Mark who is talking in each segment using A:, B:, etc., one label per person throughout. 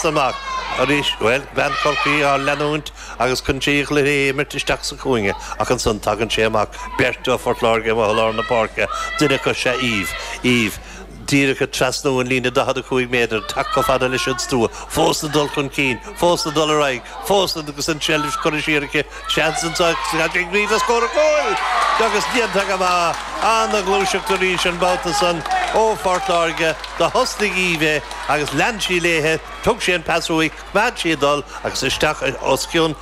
A: Amach arís, bhuel, bean Chorcaí á leanúint agus chun sí an cluiche a imirt isteach sa chúinne ach ansan tagann sé amach, beirt ó Phort Láirge amuigh i lár na páirce, duine acu sea Eve, Eve, díreach ag trasnú an líne 45 méadar, teacht chomh fada leis an stua, fós ag dul chun cinn, fós ag dul ar aghaidh, fós agus an tseilbh curtha siar aici, seans anso tá sí ag gníomh scór cúil agus déanta go maith, ana-ghluaiseacht arís an babhta san ó Phort Láirge, do thosnaigh Eve é agus lean sí léithe, thug sí an pas uaithi, choimeád sí ag dul agus isteach os cionn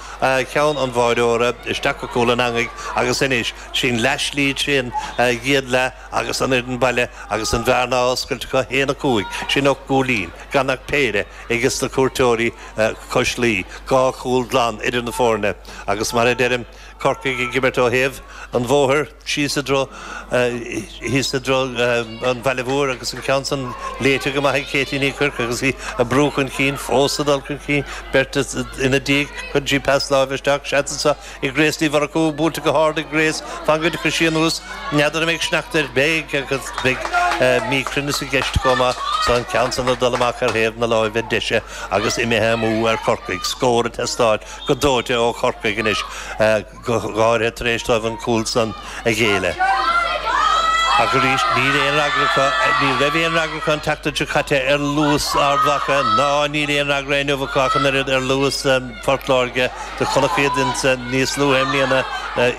A: cheann an bháireora, isteach go cúl an eangaigh agus anois, sin leath slí trín gcéad leath agus an fhoireann baile agus an bhearna á oscailt acu, 1-5, sin 8 gcúilín, gan ach péire ages na cuairteoirí cois Laoi, 2 chúl glan idir na foirne agus mar a deirim, Corcaigh ag imirt ó thaobh an bhóthair síos i dtreo thíos i dtreo an Bhaile Mhóir agus an ceann san léite go maith ag Katie Ní Chuirc agus í ag brú chun cinn, fós ag dul chun cinn, beirt ina diaidh, cuireann sí pas láimhe isteach, seans anseo ag Grace Ní Mhurchú, buailte go hard ag Grace, fan go dtiocfaidh sí anuas, n'fheadar an mbeidh sneachta air, beidh agus beidh míchruinneas i gceist chomh maith, so an ceann san ag dul amach ar thaobh na láimhe deise agus imithe amú ar Chorcaigh, scór ag teastáil. go dóite ó Chorcaigh anois, go háirithe tar éis dóibh an cúl san a ghéilleadh. Ach arís, níl aon fhreagra acu, ní raibh aon fhreagra acu an tseachtain seo caite ar luas Ard Mhacha, ná níl aon fhreagra inniu acu ach an oiread ar luas Phort Láirge. Do chonac iad níos luaithe i mbliana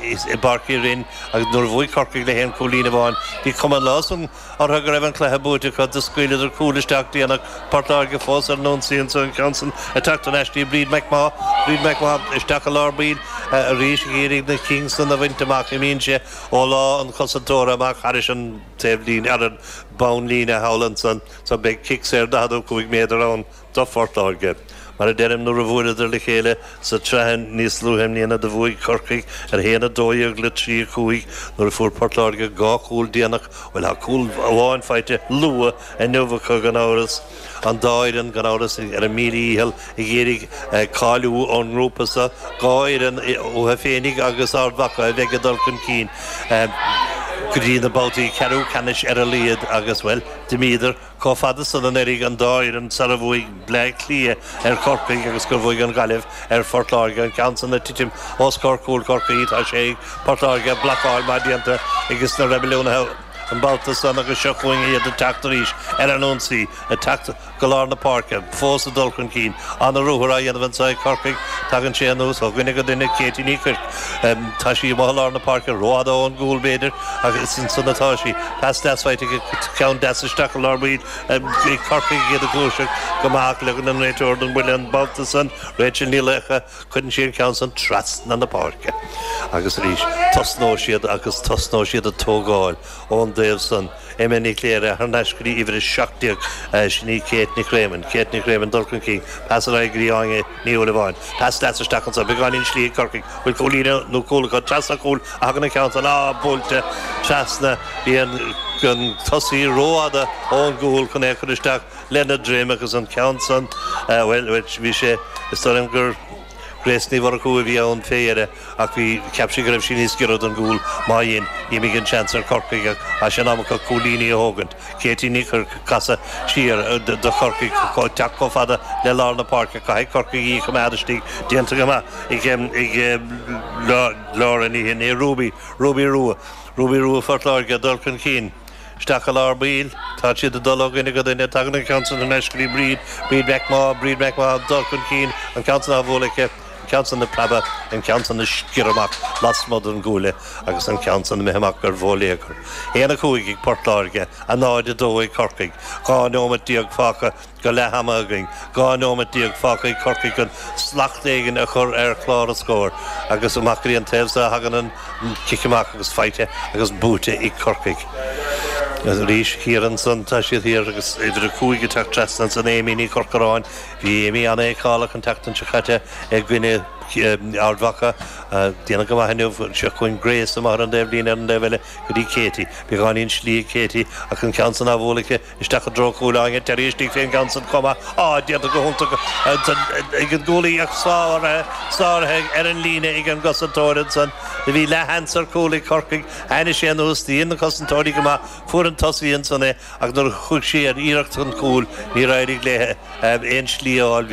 A: i bPáirc Uí Rinn agus nuair a bhuaigh Corcaigh le haon chúilín amháin, bhí cuma an lá san, orthu go raibh an cluiche buaite acu. Do scaoileadar cúl isteach déanach. Port Láirge fós ar an ionsaí anso, an ceann san ag teacht thar n-ais dtí Bríd McMaugh. Bríd McMaugh isteach i lár baill arís ag iarraidh na cinn san a bhaint amach. Imíonn sé ó lámh an chosantóra amach thairis an taobhlíne, ar an bonnlíne thall ansan. So beidh cic saor 45 méadar ann. do Phort Láirge. Mar a deirim, nuair a bhuaileadar le chéile sa tsraith níos luaithe i mbliana do bhuaigh Corcaigh ar 1-12 le 3-5 nuair a fuair Port Láirge 2 chúl déanach, bhuel tá cúl amháin faighte luath inniu acu gan amhras, an dá fhoireann gan amhras ar a míle dhícheall ag iarraidh cáiliú ón ngrúpa seo, 2 fhoireann uathu féinig agus Ard Mhacha a bheidh ag dul chun cinn go dtí na babhtaí ceathrú ceannais ar a laghad agus, bhuel, d'imíodar. Chomh fada san anuraidh an dá fhoireann sar a bhuaigh Bleá Cliath ar Chorcaigh agus gur bhuaigh an Ghaillimh ar Phort Láirge. An ceann san ag titim os comhair chúl Chorcaí. Tá sé ag Port Láirge. Blocáil maith déanta ages na Reibiliúnaithe an babhta san agus seo chugainn iad ag teacht arís ar an ionsaí. Ag teacht go lár na páirce. Fós ag dul chun cinn. Ana-ruathar á dhéanamh anso ag Corcaigh. Tagann sé anuas ó dhuine go duine. Katie Ní Chuirc. Tá sí amuigh i lár na páirce, rófhada ón gcúl b'fhéidir, ach is ansan atá sí. Pas deas faighte aici, ceann deas isteach i lár baill ag Corcaigh iad ag gluaiseacht go maith ach leagann an réiteoir an buille an babhta san, Rachel Ní Laochdha, cuireann sí an ceann san trasna na páirce. Agus arís, tosnóidh siad agus tosnóidh siad ag tógáil ón dtaobh san. Emma Ní Chléire thar n-ais go dtí uimhir 17, sin í Kate Nic Réamoinn. Kate Nic Réamoinn dul chun cinn, pas ar aghaidh go dtí Áine Ní Shúilleabháin. Pas deas isteach anso, beagáinín slí ag Corcaigh. Bhfuil cúilín nó cúl acu? Trasna an chúil a thagann an ceann san. Á, buailte trasna. Bhí an tosaí rófhada ón gcúl chun é a chur isteach lena droim agus an ceann san, bhuel, bhí sé, is dóigh liom gur Grace Ní Mhurchú a bhí ann fé dheireadh ach bhí, cheap sí go raibh sí níos giorra don gcúl. Má dhein, d'imigh an seans ar Chorcaigh ach tá sé in am acu cúilíní a thógaint. Katie Ní Chuirc ag casadh siar do Chorcaigh, teacht chomh fada le lár na páirce. Caithfidh Corcaigh í a choimeád istigh. Déanta go maith ag Laura Ní Shin, Ruby, Ruby Rua, Ruby Rua Phort Láirge ag dul chun cinn. Isteach i lár baill. Tá siad ag dul ó dhuine go duine. Tagann an ceann san thar n-ais go dtí Bríd, Bríd McMaugh, Bríd McMaugh ag dul chun cinn. An ceann san á bhualadh aici. An ceann san ag preabadh. An ceann san ag sciorradh amach lasmuigh den gcuaille agus an ceann san imithe amach ar bhóiléagar. 1-5 ag Port Láirge, 0-2 ag Corcaigh. 12 nóimeat fágtha go leath ama againn. 12 nóimeat fágtha ag Corcaigh chun slacht éigin a chur ar chlár an scóir agus amach go dtí an taobh so a thagann an cic amach agus faighte agus buaite ag Corcaigh. Arís thiar ansan tá siad thiar agus uimhir 5 ag teacht trasna ansan Amy Ní Chorcoráin. Bhí Amy an-fheiceálach an tseachtain seo caite i gcoinne Ard Mhacha. Déanamh go maith inniu. Seo chugainn Grace amach ar an dtaobh líne ar an dtaobh eile go dtí Katie. Beagáinín slí ag Katie ach an ceann san á bhualadh aici Isteach i dtreo chúil Áine Terry istigh fén gceann san chomh maith. Á, déanta go hiontach ansan ag an gcúlaí ach sáraithe, sáraithe ar an líne ag an gcosantóir ansan. Do bhí leathsheans ar chúl ag Corcaigh, tháinig sé anuas, do dhein na cosantóirí go maith, fuair an tosaí ansan é ach nuair a chuaigh sí ar iarracht chun cúil níor éirigh léi aon slí a fháil.